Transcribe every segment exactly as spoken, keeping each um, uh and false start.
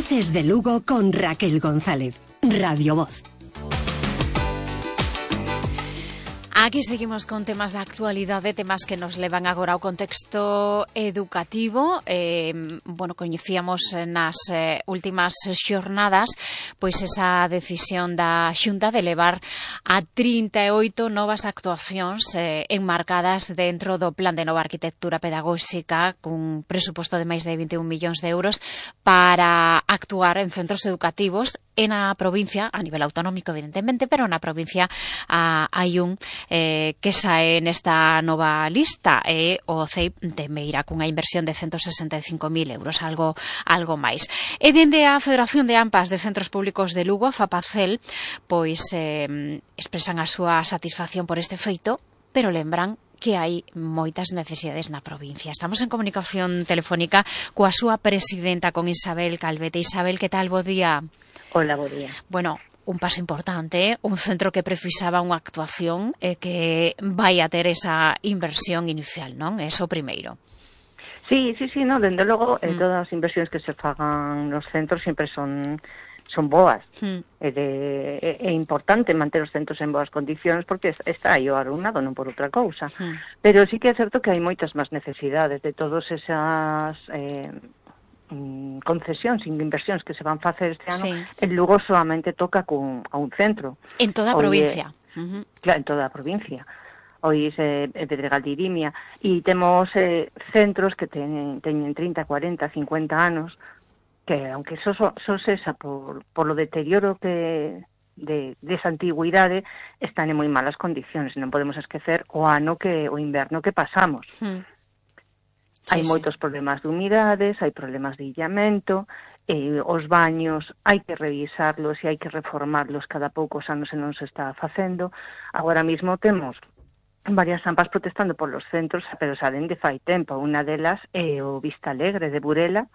Voces de Lugo con Raquel González. Radio Voz. Aquí seguimos con temas de actualidade, temas que nos levan agora ao contexto educativo. Eh, bueno, coñecíamos nas eh, últimas xornadas pois esa decisión da Xunta de levar a trinta e oito novas actuacións eh, enmarcadas dentro do Plan de Nova Arquitectura Pedagóxica cun presuposto de máis de vinte e un millóns de euros para actuar en centros educativos e na provincia, a nivel autonómico evidentemente, pero na provincia a, hai un eh, que sae nesta nova lista e o C E I temeira cunha inversión de ciento sesenta e cinco mil euros, algo algo máis. E dende a Federación de AMPAs de Centros Públicos de Lugo, a FAPACEL, pois eh, expresan a súa satisfacción por este feito, pero lembran que hai moitas necesidades na provincia. Estamos en comunicación telefónica coa súa presidenta, con Isabel Calvete. Isabel, que tal? Bo día. Hola, bo día. Bueno, un paso importante, un centro que precisaba unha actuación e que vai a ter esa inversión inicial, non? Eso primeiro. Sí, sí, sí, no, dende logo, mm. eh, todas as inversións que se fagan nos centros sempre son son boas. Mm. É, de, é, é importante manter os centros en boas condicións porque está aí o alumnado, non por outra cousa. Mm. Pero sí que é certo que hai moitas máis necesidades de todas esas eh, concesións e inversións que se van facer este ano. Sí. En Lugo solamente toca con, a un centro. En toda a provincia. Eh, uh-huh. Claro, en toda a provincia. Hoy é eh, Pedregal de Irimia e temos eh, centros que teñen, teñen trinta, cuarenta, cincuenta anos que, aunque só so, so cesa por, por lo deterioro que de, de esa antigüidade, están en moi malas condicións. Non podemos esquecer o ano que o inverno que pasamos. Hmm. Sí, hai sí. moitos problemas de humidades, hai problemas de illamento, eh, os baños hai que revisarlos e hai que reformarlos cada poucos anos e non se está facendo. Agora mesmo temos varias AMPAs protestando polos centros, pero salen de fai tempo. Unha delas é o Vista Alegre de Burela,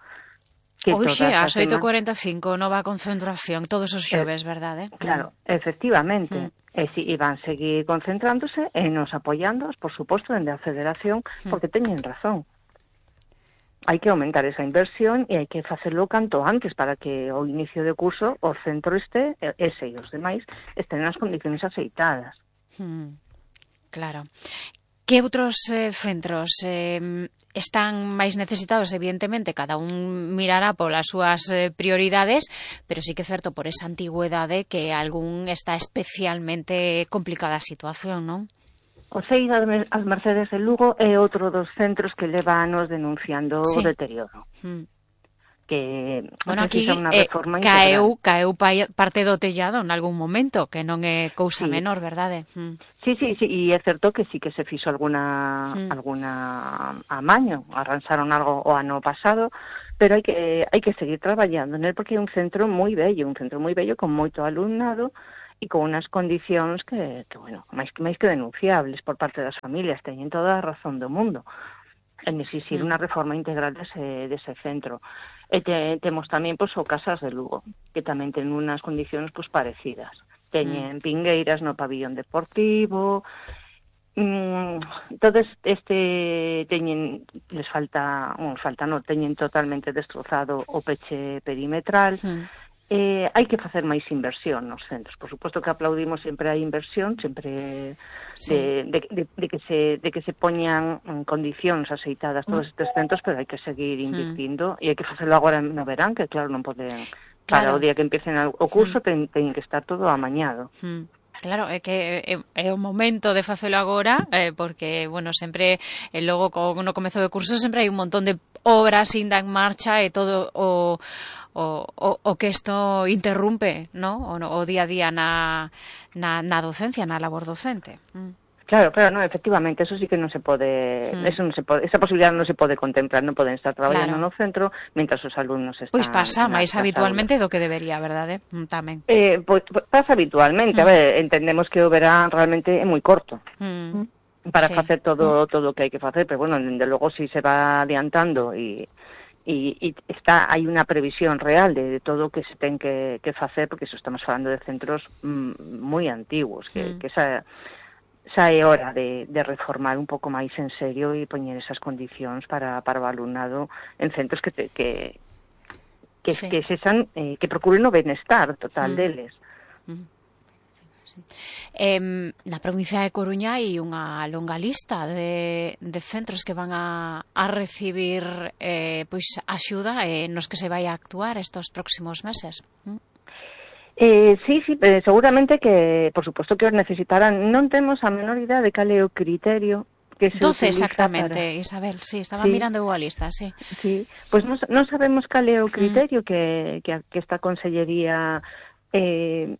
que Oxe, ás oito e cuarenta e cinco, nova concentración, todos os xoves, eh, verdade? Claro, efectivamente. Mm. E si, e van seguir concentrándose e nos apoiándoos, por suposto, dende a Federación, mm. porque teñen razón. Hai que aumentar esa inversión e hai que facelo canto antes para que ao inicio de curso o centro este, ese e os demais, estén nas condicións aceitadas. Mm. Claro. Que outros eh, centros eh, están máis necesitados? Evidentemente, cada un mirará polas súas eh, prioridades, pero sí que é certo por esa antigüedade que algún está especialmente complicada a situación, non? O C E I das Mercedes de Lugo é outro dos centros que leva anos denunciando sí. o deterioro. Mm. Que bueno, aquí eh, caeu, caeu parte do tellado en algún momento, que non é cousa sí. menor, verdade? Mm. Sí, sí, sí, e é certo que sí que se fixo alguna mm. alguna amaño, arranxaron algo o ano pasado, pero hai que hai que seguir traballando nel porque é un centro moi bello, un centro moi bello con moito alumnado e con unas condicións que, que bueno, máis que máis que denunciables por parte das familias, teñen toda a razón do mundo en exixir mm. unha reforma integral dese, dese centro. E te, temos tamén pois, o Casas de Lugo, que tamén ten unhas condicións pois, parecidas. Teñen mm. pingueiras no pabillón deportivo, mm, entonces este teñen, les falta, un, falta no, teñen totalmente destrozado o peche perimetral. Mm. Eh, hai que facer máis inversión nos centros. Por suposto que aplaudimos sempre a inversión, sempre sí. de, de, de, de, que se, de que se poñan en condicións aceitadas todos estes centros, pero hai que seguir invirtindo mm. e hai que facelo agora no verán, que claro, non poden, claro. Para o día que empiecen o curso, mm. ten, ten que estar todo amañado. Mm. Claro, é que é, é o momento de facelo agora, eh, porque, bueno, sempre, eh, logo, no comezo de curso, sempre hai un montón de obras ainda en marcha e todo o, o, o, o que isto interrumpe, ¿no? O, o día a día na, na, na docencia, na labor docente. Mm. Claro, claro, no, efectivamente, eso sí que non se pode, mm. eso non se pode, esa posibilidad non se pode contemplar, non poden estar traballando claro. no centro mentras os alumnos están. Pois pasa máis habitualmente do que debería, verdade? Tamén. Eh, pois pasa habitualmente, mm. a ver, entendemos que o verán realmente é moi corto. Mm. Para sí. facer todo todo o que hai que facer, pero bueno, dende logo si se va adiantando e E, e está hai unha previsión real de, de todo o que se ten que, que facer, porque eso estamos falando de centros mm, moi antiguos, que, mm. que esa xa é hora de, de reformar un pouco máis en serio e poñer esas condicións para, para o alumnado en centros que, te, que, que, sí. que sexan, eh, que procuren o benestar total mm. deles. Mm. Eh, na provincia de Coruña hai unha longa lista de, de centros que van a, a recibir eh, pois axuda eh, nos que se vai a actuar estos próximos meses. Mm. Eh, sí, sí, eh, seguramente que, por suposto que os necesitarán. Non temos a menor idea de cal é o criterio que se doce utiliza exactamente, para... Isabel, sí, estaba sí. mirando a lista, sí. Sí, pois pues non, non sabemos cal é o criterio mm. que, que, que esta consellería eh,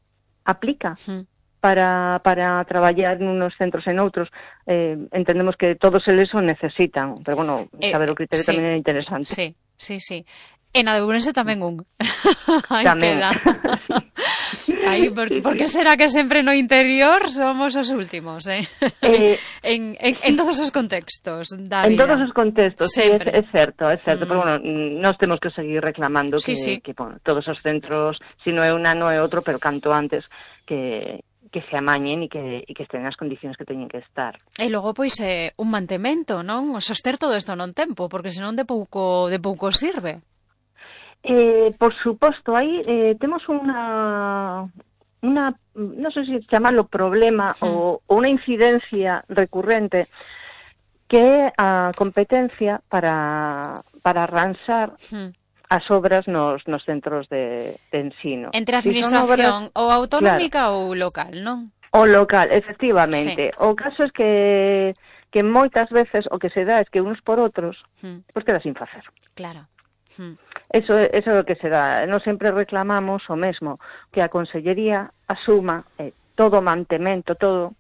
aplica mm. para, para traballar nunos centros e noutros. Eh, entendemos que todos eles o necesitan, pero bueno, saber eh, o criterio sí. tamén é interesante. Sí, sí, sí. En a de Ourense tamén un. Aí tamén. queda. Aí, por, por que será que sempre no interior somos os últimos, eh? eh en, en, en todos os contextos da en vida. En todos os contextos, sempre. Sí, é, é certo, é certo, mm. pero bueno, nós temos que seguir reclamando sí, que, sí. que bueno, todos os centros, si non é un ano é outro, pero canto antes que que se amañen e que, e que estén nas condicións que teñen que estar. E logo, pois, eh, un mantemento, non? Soster todo isto non tempo, porque senón de pouco, de pouco sirve. Eh, por suposto, aí eh, temos unha, unha, non sei se chamarlo problema sí. ou, ou unha incidencia recurrente que é a competencia para, para arranxar sí. as obras nos, nos centros de, de ensino. Entre a administración si obras, ou autonómica claro, ou local, non? O local, efectivamente. Sí. O caso é que, que moitas veces o que se dá é que uns por outros sí. pois queda sin facer. Claro. Hmm. Eso, eso é o que se dá. Nós sempre reclamamos o mesmo, que a Consellería asuma eh, todo o mantemento, todo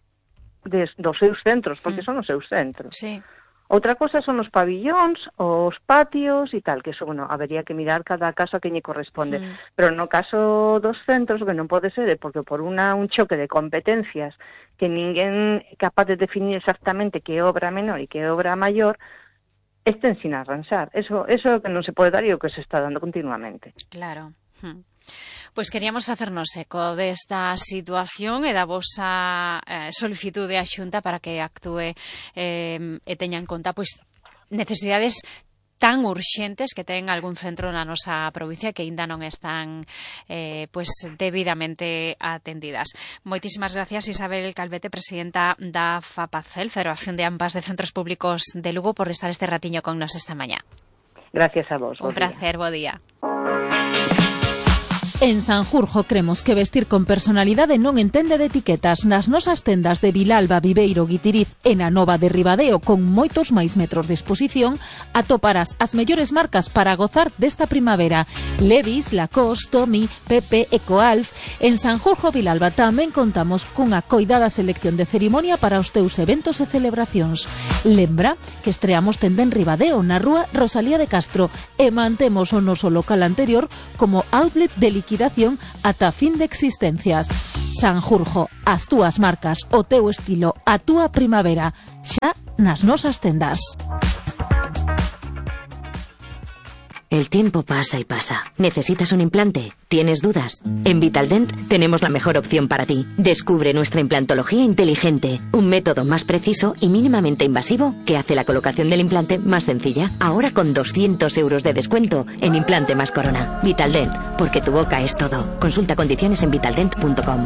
des, dos seus centros, porque hmm. son os seus centros. Sí. Outra cosa son os pabillóns, os patios e tal, que eso, bueno, habería que mirar cada caso a quen lle corresponde. Hmm. Pero no caso dos centros, que non pode ser, porque por una, un choque de competencias que ninguén é capaz de definir exactamente que é obra menor e que é obra maior, estén sin arranxar. Eso, eso que non se pode dar e o que se está dando continuamente. Claro. Hmm. Pois queríamos facernos eco desta situación e da vosa eh, solicitude á Xunta para que actúe eh, e teña en conta pois necesidades tan urxentes que ten algún centro na nosa provincia que aínda non están eh, pues debidamente atendidas. Moitísimas gracias, Isabel Calvete, presidenta da FAPACEL, Federación de Ampas de Centros Públicos de Lugo, por estar este ratiño con nos esta mañá. Gracias a vos. Un placer, bo día. En Sanjurjo cremos que vestir con personalidade non entende de etiquetas. Nas nosas tendas de Vilalba, Viveiro, Guitiriz e na Nova de Ribadeo, con moitos máis metros de exposición, atoparás as mellores marcas para gozar desta primavera. Levi's, Lacoste, Tommy, Pepe e Coalf. En Sanjurjo, Vilalba, tamén contamos cunha coidada selección de cerimonia para os teus eventos e celebracións. Lembra que estreamos tenda en Ribadeo, na rúa Rosalía de Castro, e mantemos o noso local anterior como outlet de liquidación ata fin de existencias. Sanjurjo, as túas marcas, o teu estilo, a túa primavera, xa nas nosas tendas. El tiempo pasa y pasa. ¿Necesitas un implante? ¿Tienes dudas? En Vitaldent tenemos la mejor opción para ti. Descubre nuestra implantología inteligente, un método más preciso y mínimamente invasivo que hace la colocación del implante más sencilla. Ahora con doscientos euros de descuento en implante más corona. Vitaldent, porque tu boca es todo. Consulta condiciones en vitaldent punto com.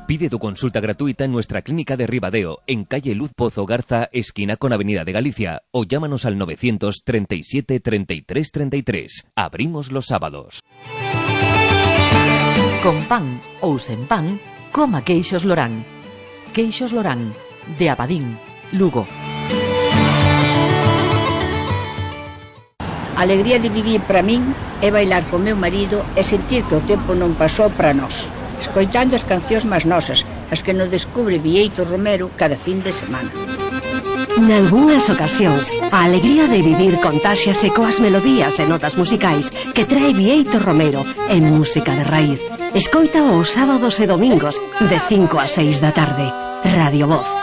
Pide tu consulta gratuita en nuestra clínica de Ribadeo, en calle Luz Pozo Garza, esquina con Avenida de Galicia, o llámanos al novecientos treinta y siete treinta y tres treinta y tres. Abrimos los sábados. Con pan ou sen pan, coma queixos Lorán. Queixos Lorán, de Abadín, Lugo. A alegría de vivir para min é bailar con meu marido e sentir que o tempo non pasou para nós, escoitando as cancións máis nosas, as que nos descubre Bieito Romero cada fin de semana. Nalgúnas ocasións, a alegría de vivir contáxiase coas melodías e notas musicais que trae Bieito Romero en música de raíz. Escoita os sábados e domingos de cinco a seis da tarde. Radio Voz.